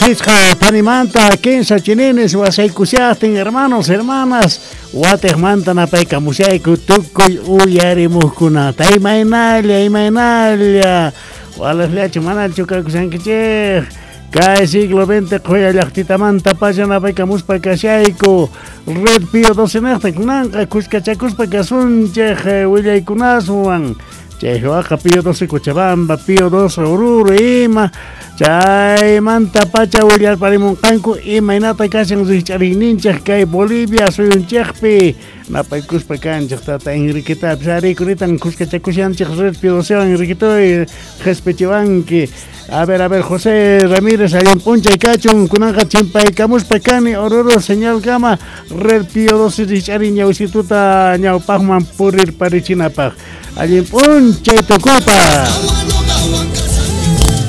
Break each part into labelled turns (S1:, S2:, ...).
S1: Qhichqa panimanta kinsa chininis wasaykushajtin hermanos, hermanas, watejmanta napaykamushayku tukuy uyarimuqkunata. Imaynalla, imaynalla, walejllachu manachu kakushankichej. Kay siglo XX qhoya llaqtitamanta pacha napaykamuspa kashayku. Red Pío 12 nejta kunanqa kuskachakuspa kasunchej willaykunaswan. Chay waqa Pío 12 Cochabamba, Pío 12 Oruro ima. Chaymanta pacha willarparimunqanku imaynata kashan rikch'ariyninchej kay Bolivia suyunchejpi. Napaykuspa kanchej tata Enriquetapis ari kuritan kuskachakushanchej Red Pío 12 Enriquetoy qhespichiwanki. A ver, José Ramírez, allin p'unchay kachun, kunanqa chimpaykamuspa kani Oruro señalkama Red Pío 12 rikch'ariy ñawsituta ñawpaqman purirparichinapaq. Allin p'unchay tukuypaq.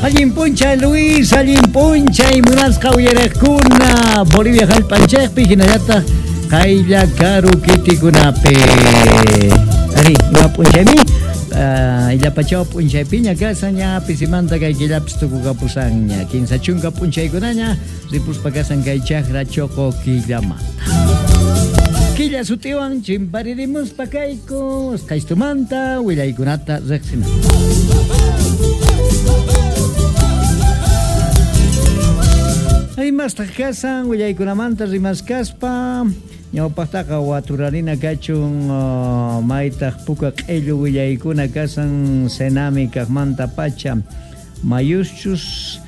S2: Allin p'unchay Luis, allin p'unchay munasqa uyariqkuna Bolivia jallp'anchejpi hinallataq qaylla karu kitikunapi. Ari, ima p'unchaymi? Illapachaw p'unchaypiña kasan ña pisimanta kay killapis tukukapusanña. Kinsa chunka p'unchaykunaña ripuspa kasan kay chakra choqo killamanta. Killa sutiwan chimparirimuspa kayku usqhaystumanta willaykunata riqsina. Imastaq kasan willaykunamanta rimaskaspa ñawpaqtaqa waturarina kachun maytaq puka q'illu willaykuna kasan Senami kaqmanta pacha mayuschus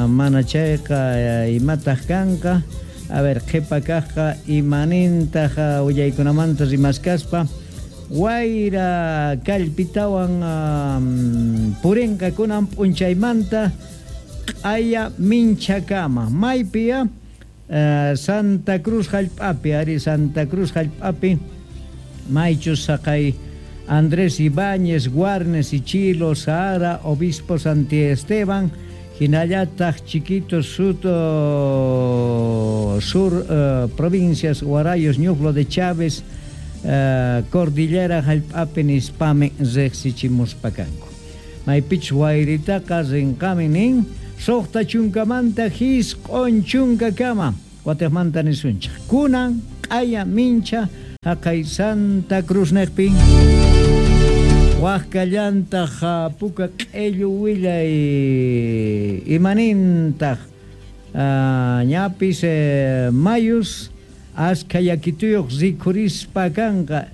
S2: mana chayqa imataq kanqa. A ver, qhipa kaqqa imanintaq willaykunamanta rimaskaspa wayra kallpitawan purinqa kunan p'unchaymanta q'aya minchakama maypiya Santa Cruz jallp'api, ari Santa Cruz jallp'api maychus saqay Andrés Ibáñez, Guarnes, Ichilo, Sahara, Obispo Santi Esteban, hinallataq Chiquitos, Sur provincias, Guarayos, Ñuflo de Chávez, Cordillera jallp'api nispami riqsichimuspa kanku. Maypichus wayritaqa rinqami nin suqta chunkamanta jisq'un chunkakama watejmanta nisunchej. Kunan q'aya mincha jaqay Santa Cruz neqpi. Wajkallantaq puka q'illu willay imanintaq ñapis mayus askha yakituyuq rikhurispa kanqa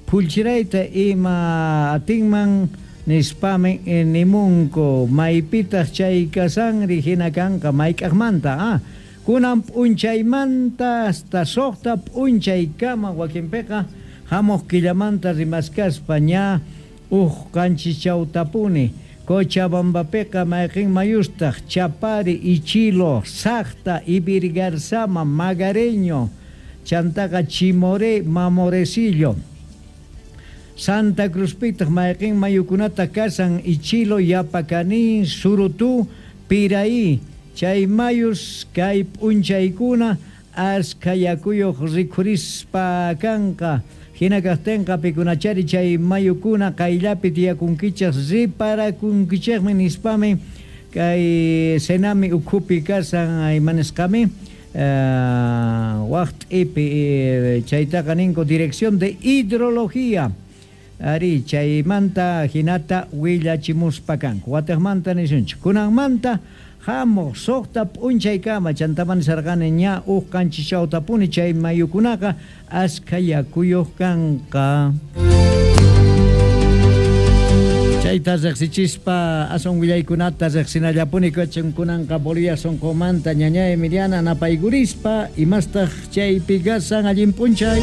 S2: phullchirayta ima atinman nispami nimunku maypitaq chay kasanri hina kanqa mayk'aqmanta kunan p'unchaymanta hasta suqta p'unchaykama wakinpiqa hamuq killamanta rimaskaspa ña uj qanchischawtapuni Cochabambapiqa mayqin mayustaq Chapari, Ichilo, Saqta, Ibirgarzama, Magareño, chantaqa Chimoré, Mamorecillo. Santa Cruzpitaq mayqin mayukunata kasan Ichilo, Yapacaní, Surutú, Piraí. Chay mayus kay p'unchaykuna askha yakuyuq rikhurispa kanqa. Hina kaqtinqa pikunachari chay mayukuna qayllapi tiyakunkichej riparakunkichejmi nispami kay Senami ukhupi kasan imanisqami waq t'ipi chaytaqa ninku Dirección de Hidrología. Ari chaymanta hinata willachimuspa kanku. Watejmanta nisunchik. Kunanmanta hamuq suqta p'unchaykama chantaman nisarqani ña uj qanchischawtapuni chay mayukunaqa askha yakuyuq kanqa. Chayta riqsichispa aswan willaykunata riqsinallapuni kachun kunanqa Bolivia sunqumanta ñañay Emiliana napaykurispa imastaq chaypi kasan allin p'unchay.